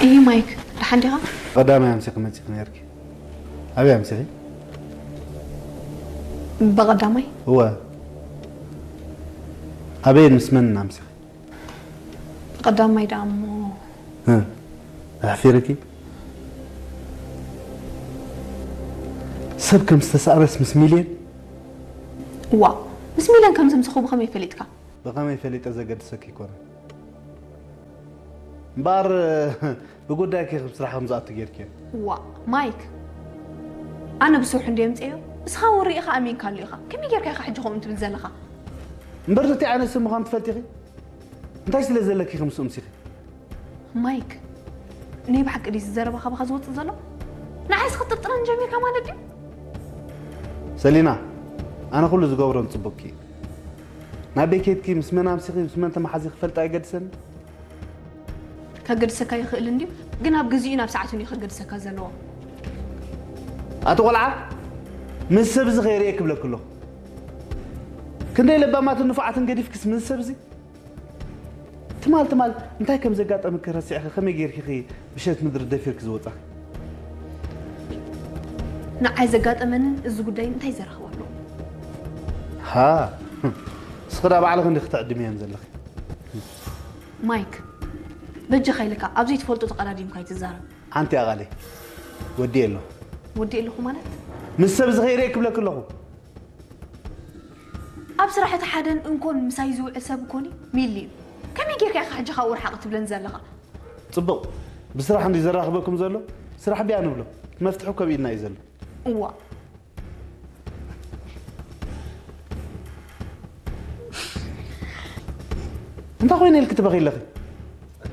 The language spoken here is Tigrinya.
እይ ማይክ፣ ደሓን ዲኻ? ቀዳማይ ኣምሲኺ መጺኺ ነርኪ። ኣበይ ኣምሲኺ? ብቐዳማይ? እወ። ኣበይን ምስ መንን ኣምሲኺ? ብቐዳማይ ደኣ እሞ። እ፣ ኣሕፊርኪ? ሰብ ከም ዝተሳእነስ ምስ ሚልዮን? እዋ፣ ምስ ሚልዮን ከም ዘምሰኹ ብኸመይ ፈሊጥካ? ብኸመይ ፈሊጠ ዘገድሰኪ ኣይኮነን። እምበኣር፣ ብጉዳይኪ ከም ስራሕ ከም ዝኣቱ ጌርኪዮ። እዋ፣ ማይክ፣ ኣነ ብስርሑ እንድየ ኣምፅኤዮ፣ እስኻ እውን ርኢኻ ኣሚንካሉ ኢኻ። ከመይ ጌርካ ኢኻ ሕጂ ከምኡ ትብል ዘለኻ? እምበር ነቲ ዓይነት ሰብ ምዃኑ ትፈልጢ ኢኺ? እንታይ ስለ ዘለኪ ኢኺ ምስኡ ኣምሲኺ? ማይክ፣ ናይ ብሓቂ ድዩ እዚ ዘረባ ካባኻ ዝወፅእ ዘሎ? ንዓይስ ክትጥርጥረኒ ጀሚርካ ማለት ድዩ? ሰሊና፣ ኣነ ኩሉ ዝገብሮ ንፅቡቅኪ እዩ። ናበይ ኬድኪ፣ ምስ መን ኣምሲኺ፣ ምስ መን ተመሓዚ ክፈልጥ ኣይገድሰኒ። ከገድሰካ ይኽእል እንድዩ፣ ግን ኣብ ግዚኡ ናብ ሰዓቱን እዩ ከገድሰካ ዘለዎ። ኣቲ ቆልዓ፣ ምስ ሰብ እዚ ከይርእየ ክብለኪ ኣለኹ። ክንደይ ለባማትን ንፉዓትን ገዲፍክስ ምስ ሰብ እዚ? ትማል ትማል እንታይ ከም ዘጋጠመኪ ረሲዕኺ ከመይ ጌርኪ ኢኺ ምሸት ምድሪ ደፊርኪ ዝወጻኺ? ንዓይ ዘጋጠመንን እዚ ጉዳይን እንታይ ዘራኽብ ኣለዎ? ሃ፣ እስኺ ደኣ ባዕልኺ እንዲኺ ትዕድምየን ዘለኺ። ማይክ፣ በጃኻ ኢልካ ኣብ ዘይትፈልጦ ተቐዳዲምካ ኣይትዛረብ። ሓንቲ ኣቓለይ ወዲኤ ኣለኹ። ወዲኤ ኣለኹ ማለት? ምስ ሰብ ዝኸይደ ክብለኪ ኣለኹ። ኣብ ስራሕ እቲ ሓደን እንኮን ምሳይ ዝውዕል ሰብ እኮኒ ሚሊ እዩ። ከመይ ጌርካ ኢኻ ሕጂ ካብኡ ርሓቕ ትብለኒ ዘለኻ? ጽቡቕ፣ ብስራሕ እንዲ ዘራኽበኩም ዘሎ ስራሕ ቢያ ንብሎ። መፍትሒ እኮ ኣብ ኢድና እዩ ዘሎ። እዋ። እንታይ ኮይነ ኢልኪ ትበኺ ኣለኺ?